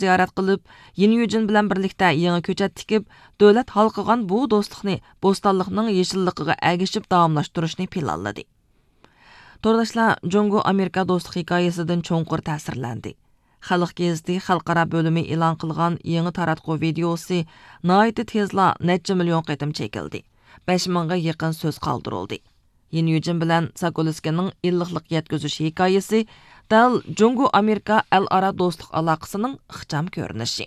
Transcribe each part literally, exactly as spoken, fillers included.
زىيارەت قىلىپ، يىن يۈجىن بىلەن بىرلىكتە يېڭى كۆچەت تىكىپ، دۆلەت ھالقىغان بۇ دوستلۇقنى بوستانلىقنىڭ يېشىللىقىغا ئەگىشىپ داۋاملاشتۇرۇشنى پىلانلىدى. تورداشلار جۇڭگو ئامېرىكا دوستلۇق ھېكايىسىدىن چوڭقۇر تەسىرلەندى. خەلق گېزىتى خەلقئارا بۆلۈمى ئېلان قىلغان يېڭى تاراتقۇ ۋىدېئوسى ناھايىتى تېزلا نەچچە مىليون قېتىم چېكىلدى. بەش مىڭغا يېقىن سۆز قالدۇرۇلدى. يىن يۈجىن بىلەن ساكولسكىنىڭ ئىللىقلىق يەتكۈزۈش ھېكايىسى دەل جۇڭگو ئامېرىكا ئەلئارا دوستلۇق ئالاقىسىنىڭ ئىخچام كۆرۈنۈشى.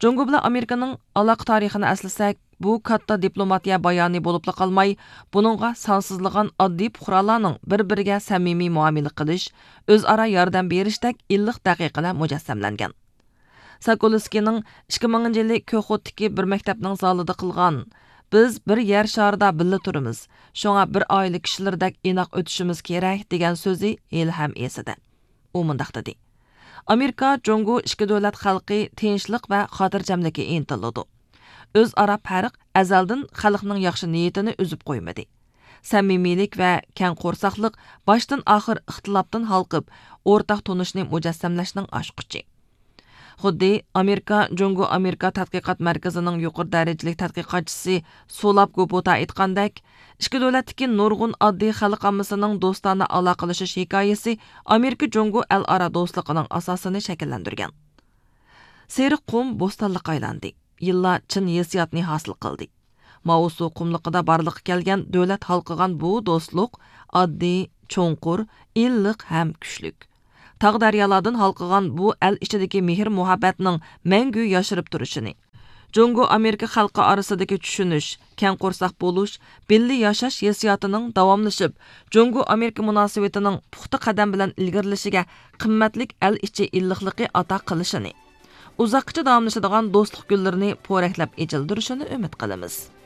جۇڭگو بىلەن ئامېرىكىنىڭ ئالاقە تارىخىنى ئەسلىسەك، بۇ كاتتا دىپلوماتىيە بايانى بولۇپلا قالماي، بۇنىڭغا سانسىزلىغان ئاددىي پۇقرالارنىڭ بىر-بىرىگە سەمىمىي مۇئامىلە قىلىش، ئۆزئارا ياردەم بېرىشتەك ئىللىق دەقىقىلەر مۇجەسسەملەنگەن. ساكولسكىنىڭ ئىككى مىڭىنچى يىلى كوخوتتىكى بىر مەكتەپنىڭ زالىدا قىلغان، «بىز بىر يەر شارىدا بىللە تۇرىمىز، شۇڭا بىر ئائىلە كىشىلىرىدەك ئىناق ئۆتۈشىمىز كېرەك» دېگەن سۆزى ھېلىھەم ئېسىدە. ئۇ مۇنداق دېدى: «ئامېرىكا جۇڭگو ئىككى دۆلەت خەلقى تىنچلىق ۋە خاتىرجەملىككە ئىنتىلىدۇ. ئۆزئارا پەرق ئەزەلدىن خەلقنىڭ ياخشى نىيىتىنى ئۈزۈپ قويمىدى. سەمىمىيلىك ۋە كەڭ قورساقلىق باشتىن ئاخىر ئىختىلاپتىن ھالقىپ، ئورتاق تونۇشنى مۇجەسسەملەشنىڭ ئاچقۇچى.» خۇددى ئامېرىكا جۇڭگو ئامېرىكا تەتقىقات مەركىزىنىڭ يۇقىرى دەرىجىلىك تەتقىقاتچىسى سۇلاپ گوبوتا ئېيتقاندەك، ئىككى دۆلەتتىكى نۇرغۇن ئاددىي خەلق ئاممىسىنىڭ دوستانە ئالاقىلىشىش ھېكايىسى ئامېرىكا جۇڭگو ئەلئارا دوستلۇقىنىڭ ئاساسىنى شەكىللەندۈرگەن. سېرىق قۇم بوستانلىققا ئايلاندى. يىللار چىن ھېسسىياتنى ھاسىل قىلدى. ماۋۇسۇ قۇملۇقىدا بارلىققا كەلگەن دۆلەت ھالقىغان بۇ دوستلۇق ئاددىي، چوڭقۇر، ئىللىق ھەم كۈچلۈك. تاغ-دەريالاردىن ھالقىغان بۇ ئەل ئىچىدىكى مېھىر-مۇھەببەتنىڭ مەڭگۈ ياشىرىپ تۇرۇشىنى، جۇڭگو-ئامېرىكا خەلقى ئارىسىدىكى چۈشىنىش، كەڭ قورساق بولۇش، بىللە ياشاش ھېسسىياتىنىڭ داۋاملىشىپ، جۇڭگو-ئامېرىكا مۇناسىۋىتىنىڭ پۇختا قەدەم بىلەن ئىلگىرىلىشىگە قىممەتلىك ئەل ئىچى ئىللىقلىقى ئاتا قىلىشىنى، ئۇزاققىچە داۋاملىشىدىغان دوستلۇق گۈللىرىنى پورەكلەپ ئېچىلدۇرۇشىنى ئۈمىد قىلىمىز.